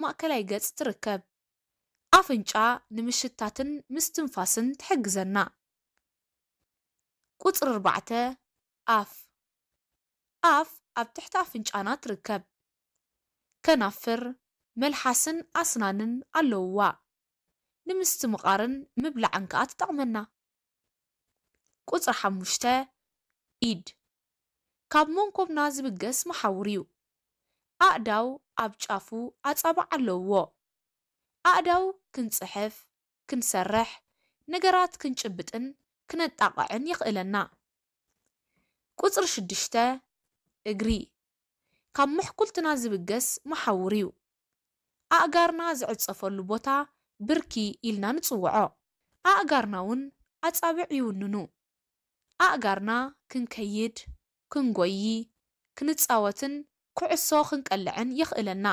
ማእከላይ ገጽ ትርከብ። ኣፍንጫ ንምሽታትን ምስትንፋስን ትሕግዘና። ቁጽሪ ኣርባዕተ፣ ኣፍ። ኣፍ ኣብ ትሕቲ ኣፍንጫና ትርከብ። ከናፍር፣ መልሓስን ኣስናንን ኣለውዋ። ንምስትምቓርን ምብላዕን ከኣ ትጠቕመና። ቁጽሪ ሓሙሽተ፣ ኢድ። ካብ መንኮብና ዝብገስ መሓውር እዩ። ኣእዳው ኣብ ጫፉ ኣጻብዕ ኣለውዎ። ኣእዳው ክንጽሕፍ፣ ክንሰርሕ፣ ነገራት ክንጭብጥን ክነጣቕዕን የኽእለና። ቁጽሪ ሽዱሽተ፣ እግሪ። ካብ ምሕኩልትና ዝብገስ መሓውር እዩ። ኣእጋርና ዝዕጸፈሉ ቦታ ብርኪ ኢልና ንጽውዖ። ኣእጋርና እውን ኣጻብዕ ይውንኑ። ኣእጋርና ክንከይድ፣ ክንጎዪ፣ ክንጻወትን ኩዕሶ ክንቀልዕን የኽእለና።